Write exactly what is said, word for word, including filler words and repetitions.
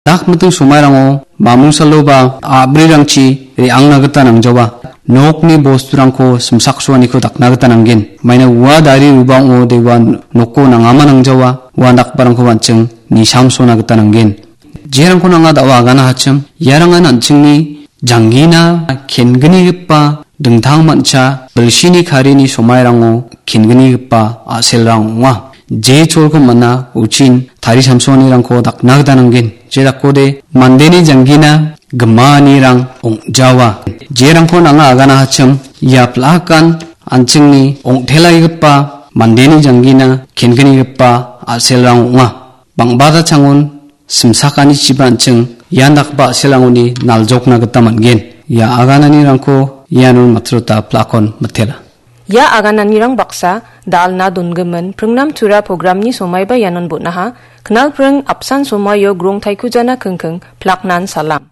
Dakmiting somairango mamung saloba a·brirangchi re·angna gita nangjawa. Nokni bosturangko simsaksoaniko dakna gita nanggen. Maina ua dari ribang·o dewa noko nangama nangjawa. Ua dakbarangko an·ching nisamsona gita nanggen. Jerangko nanga da·o agana hachim, iarangan an·chingni janggina kenggipa dingtang mancha bilsini karini somairango kenggipa a·selrang ong·a. Je cholko man·a uchin tari samsoanirangko dakna gita nanggen. Je dakode mandeni janggina gimaanirang ong·jawa. Jerangko nanga agana hachim, ia plakan an·chingni ong·telaigipa mandeni janggina kenggipa a·selrang ong·a. Bang·bata changon simsakanichiba an·ching ian dakgipa a·selrangoni naljokna gita man·gen. Ia agananirangko ianon matrota plakon mitela. Ia agananirang baksa da·alna dongimin pringnam tura programni somaiba ianon bon·aha. Knalpring apsan somaio grong taikujana kingking plaknan salam.